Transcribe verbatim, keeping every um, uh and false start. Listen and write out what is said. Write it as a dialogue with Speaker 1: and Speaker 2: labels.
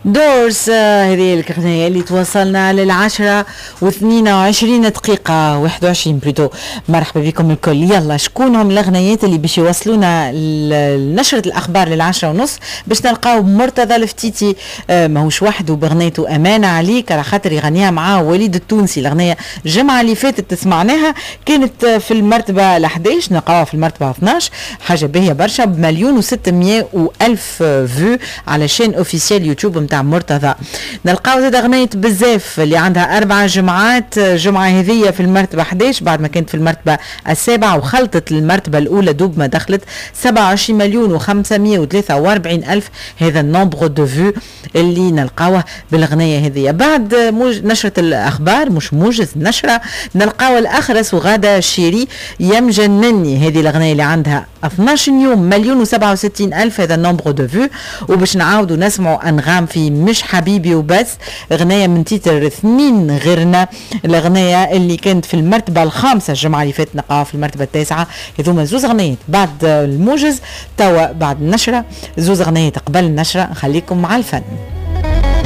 Speaker 1: دورس، هذه الأغنية اللي توصلنا للعشرة واثنين وعشرين دقيقة، واحد وعشرين plutôt. مرحبا بكم الكل. يلا، شكون هم الأغنيات اللي باش يوصلونا لنشرة الأخبار للعشرة ونص؟ باش نلقاو مرتضى الفتيتي، آه، ماهوش وحده، بغنيته أمانة عليك، على خاطر يغنيها مع وليد التونسي. الأغنية الجمعة اللي فاتت تسمعناها، كانت في المرتبة ال حداش، نلقاوها في المرتبة اثناش، حاجة باهية برشا، بمليون وستمية وألف vues على chaîne officielle YouTube نتاع مرتضى. نلقاو زاد أغنية بزاف اللي عندها أربع جمعات، جمعة هذية في المرتبة حداش بعد ما كانت في المرتبة السابعة وخلطت المرتبة الأولى دوب ما دخلت. سبعة وعشرين مليون وخمسمية وثلاثة وأربعين ألف هذا ال nombre de vues اللي نلقاوه بالغنية هذه. بعد موج نشرة الأخبار، مش موجز، نشرة، نلقاو الأخرس وغادة شيري، يا مجنني. هذه الأغنية اللي عندها اثناش يوم، مليون وسبعة وستين ألف هذا ال nombre de vues. وباش نعاودوا نسمعوا أنغام في مش حبيبي وبس، أغنية من titre اثنين غيرنا، الأغنية اللي كانت في المرتبة الخامسة الجمعة اللي فاتت، نلقاها في المرتبة التاسعة. هذوما زوز أغنيات بعد الموجز. توا بعد النشرة، زوز أغنيات قبل النشرة. نخليكم مع الفن.